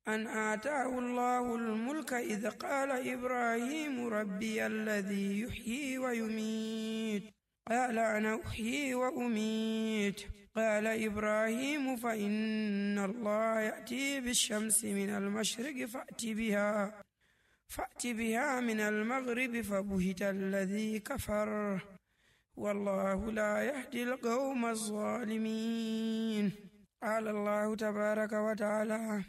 أن آتاه الله الملك إذ قال إبراهيم ربي الذي يحيي ويميت قال أنا أحيي وأميت قال إبراهيم فإن الله يأتي بالشمس من المشرق فأت بها من المغرب فبهت الذي كفر والله لا يهدي القوم الظالمين. قال الله تبارك وتعالى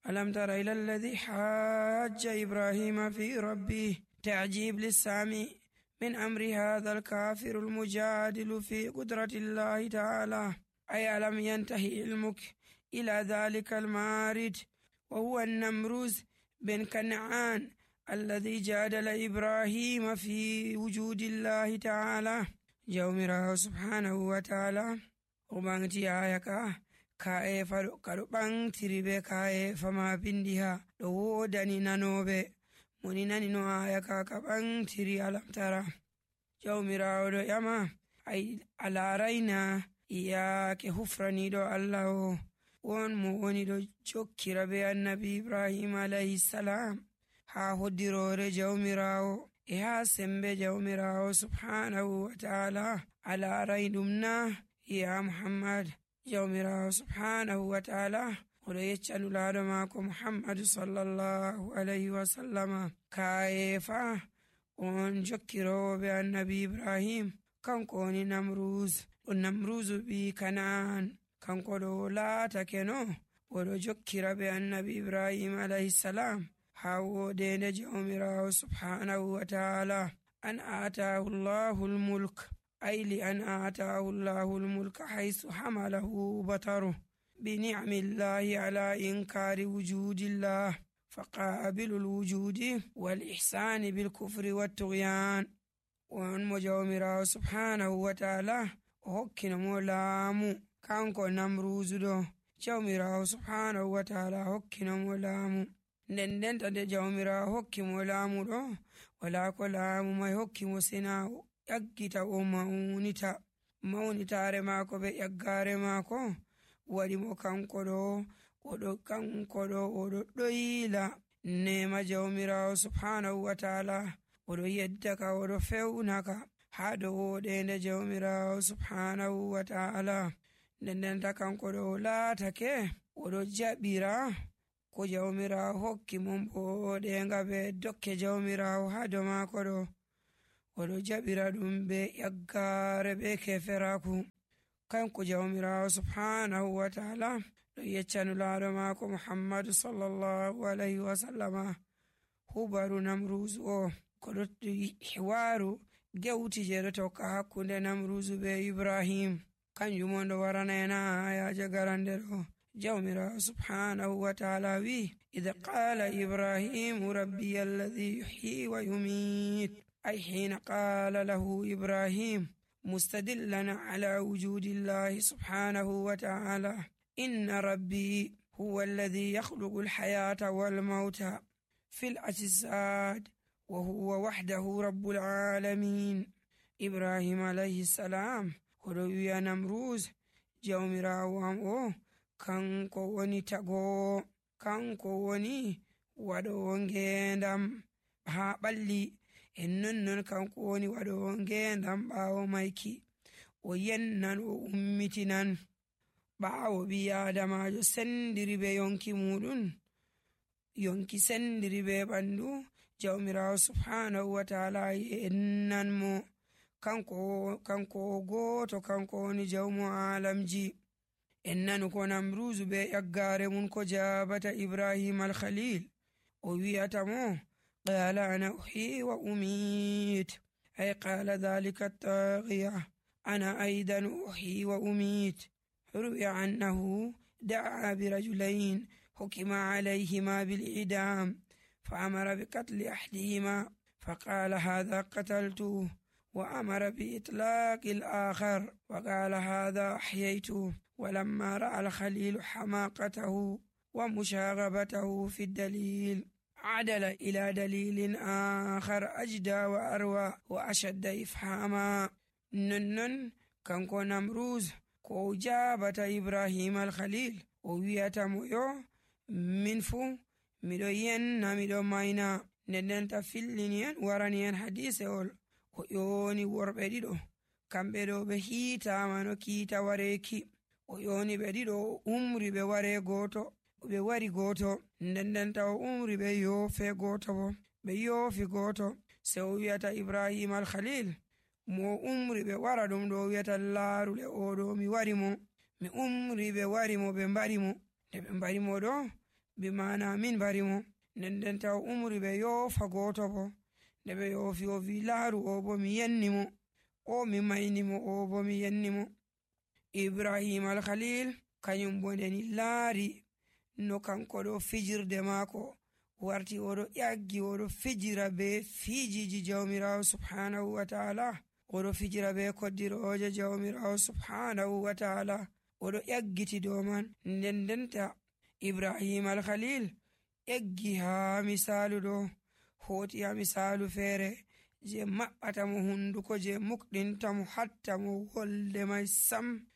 ألم تر إلى الذي حاج إبراهيم في ربه تعجيب للسامع من أمر هذا الكافر المجادل في قدرة الله تعالى. أي ألم ينتهي علمك إلى ذلك المارد وهو النمروز بن كنعان الذي جادل إبراهيم في وجود الله تعالى. جومراه سبحانه وتعالى وبانتي آيكا كاي فدو كدو بانتري be kaye fama bindiha do wodani nanobe moni nani no ayaka ka bantiri alamtara jawmirawo do yama ay alaraina iyake hufrani do Allah won mo woni do jokkira be annabi Ibrahim alayhi salam ha hoddirore jawmirawo e ha sembe jawmirawo subhanahu wa ta'ala alaraidumna ya Muhammad. jawmirawo subhanahu wa ta'ala oɗo yeccanu laaɗo maako muhammadu sallallahu alayhi wa sallama kayefa on jokkirowo be annabi ibrahim kanko woni namrus ɗum namrusu ɓi kana'an kanko ɗo laatake no oɗo jokkira be annabi ibrahim alayhi salam ha wodende jawmirawo subhanahu wa ta'ala an atahu llahu lmulk أي لأن آتاه الله الملك حيث حمله بطره بنعم الله على إنكار وجود الله فقابل الوجود والإحسان بالكفر والطغيان. وأن مجاومرا سبحانه وتعالى هكين مولامو كانكو نمروز دو جاومرا سبحانه وتعالى هكين مولامو ندن تد جاومرا هكي مولامو دو ولا كلامو ما هكي مسناو yaggita o mawnitare maako be yaggare maako waɗi mo kanko ɗo oɗo ɗoyila nema jawmirawo subhanahu wa ta'ala oɗo yeddaka oɗo fewnaka ha dow woɗende jawmirawo subhanahu wa ta'ala ndendenta kanko ɗo laatake oɗo jaɓira ko jawmirawo hokki mon boɗenga be dokke jawmirawo ha dow maako ɗo oɗo jaɓira ɗum be yaggare be keferaku kanko jawmirawo subhanahu wa ta'ala ɗo yeccanu laaɗo maako muhammadu sallallahu alayhi wa sallama hubaru namruzu o ko ɗo hiwaru gewti je ɗo tokka hakkunde namruzu be ibrahim kanjum on ɗo waranayna ayaje garande ɗo jawmirawo subhanahu wa ta'ala wi idha qala ibrahimu rabbi alladhi yuhyi wa yumit أي حين قال له إبراهيم مستدلا على وجود الله سبحانه وتعالى إن ربي هو الذي يخلق الحياة والموت في الأجساد وهو وحده رب العالمين. إبراهيم عليه السلام هدويا نمروز جومراوام kanko woni tago kanko woni waɗowo ngendam ha ɓalli en nonnon kanko woni waɗowo ngendam ɓaawo mayki o yennan o ummitinan ɓaawo ɓi adamajo sendiri be yonki muɗum yonki sendiri be ɓandu jawmirawo subhanahu wa ta'ala yennan mo kanko goto kanko woni jawmo alamji en nanu ko namruzu be yaggare mun ko jabata ibrahim al-khalil o wiyata mo قال أنا أحيي وأميت أي قال ذلك الطاغية أنا أيضا أحيي وأميت. روي عنه دعا برجلين حكم عليهما بالإعدام فأمر بقتل أحدهما فقال هذا قتلته وأمر بإطلاق الآخر وقال هذا أحييته. ولما رأى الخليل حماقته ومشاغبته في الدليل عدل إلى دليل آخر أجدى وأروى وأشد إفهاما. ننن كانكو نمروز كو جابة إبراهيم الخليل وويتا مؤيو min fuu miɗo yenna miɗo mayna. Ndendenta fillini en warani en hadisewol o ƴoni worɓe ɗiɗo, kamɓe ɗo ɓe hiitama no kiita wareeki. O ƴoni ɓe ɗiɗo o umri ɓe wari goto, ndendenta o umri ɓe yoofe goto bo. Ɓe yoofi goto se o wiyata Ibrahim al-Khalil mo umri ɓe wara ɗum ɗo o wiyata laarule oɗo mi wari mo, mi umri ɓe wari mo ɓe mbari mo. Nde ɓe mbari mo ɗo bi mana min mbari mo. Ndendenta o umri ɓe yoofa goto bo. Nde ɓe yoofi o wi laaru o bo mi yenni mo, o mi mayni mo, o bo mi yenni mo. Ibrahim al-Khalil kañum bo ndeni laari no kanko ɗo fijirde maako warti oɗo ƴaggi oɗo fijira be fijiji jawmirawo subhanahu wa ta'ala, oɗo fijira be koddiroje jawmirawo subhanahu wa ta'ala, oɗo ƴaggiti dow man. Ndendenta Ibrahim al-Khalil ƴaggi ha misalu ɗo hoti ha misalu feere je maɓɓata mo hunduko, je mukɗinta mo hatta mo wolde mai sam.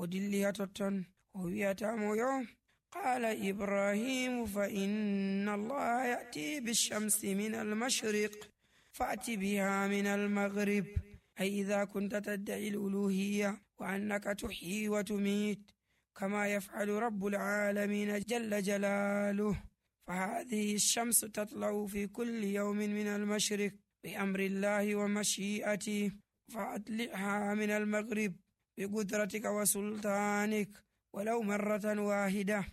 O dilli ha totton o wiyata mo yo qala Ibrahim fa inna Allah ya'ti bishamsi min al-mashriq fa'ti biha min al-maghrib ay idha kunta tad'i al-uluhiyya wa annaka tuhyi wa tumit kama yaf'alu rabbul alamin jalla jalaluhu فهذه الشمس تطلع في كل يوم من المشرق بأمر الله ومشيئته فأطلعها من المغرب بقدرتك وسلطانك ولو مرة واحدة.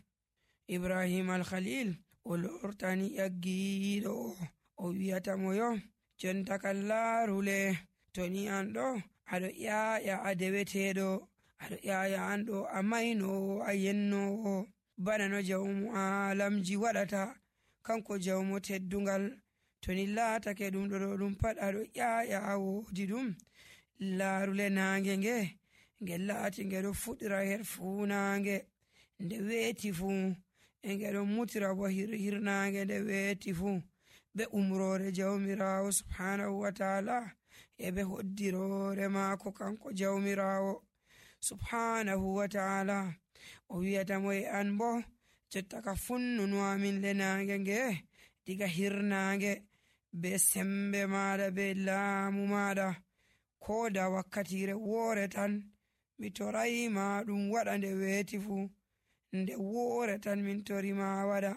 إبراهيم الخليل ولورتاني يجيدو o wiyata mo yo jonta kallarule toni an ɗo aɗo ƴaƴa a deweteɗo, aɗo ƴaƴa an ɗo a maynowo a yennowo bana no jawmu alamji waɗata kanko jawmo teddungal. toni laatake ɗum ɗo ɗum pat aɗo ƴaƴa a woodi ɗum. laarule naange nge laati nge ɗo fuɗira her fuunange nde weeti fuu, e nge ɗo mutira bo hirnange nde weeti fuu, ɓe umrore jawmirawo subhanahu wa ta'ala e ɓe hoddirore maako kanko jawmirawo subhanahu wa ta'ala. o wiyata mo e an bo jotta ka funnunu amin le nange nge diga hirnange be sembe maɗa be laamu maɗa, ko da wakkatire woore tan mi torayima ɗum waɗa nde weeti fu, nde woore tan min torima waɗa,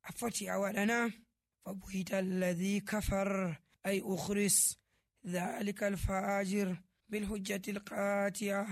a foti a waɗana. fa buhita alladhi kafar ay ukhris dhalika alfajir bil hujjati alqati'a